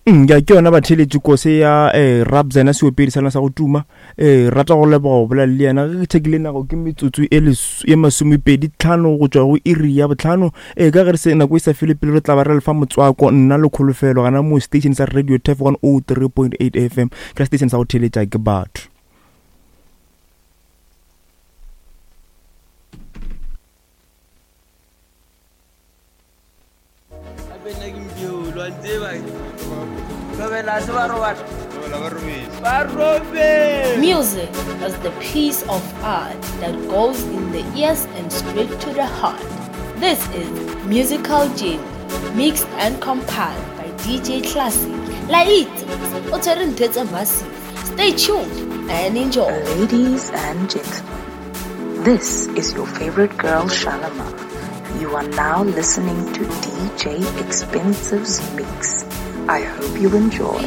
Mm, ya ke yona batheeletši kose ya eh, Rabzena seopedi sa lena sa go tuma eh, rata go leboga go bolela le yena ge ke thekile nako ke metsotso e e masomepedi tlhano go tšwa go iri ya botlhano eh, ka ge re se nako e sa fele pele re tla ba re lefa motswako nna le kholofelo gana mo station sa radio tef 103.8 fm ke station sa go theeletša ke batho. Music is the piece of art that goes in the ears and straight to the heart. This is Musical Gym, mixed and compiled by DJ Classic. La itse, o tshwere ntho tse massive. Stay tuned and enjoy. Ladies and gentlemen, this is your favorite girl Shalimar. You are now listening to DJ Expensive's Mix. I hope you enjoy.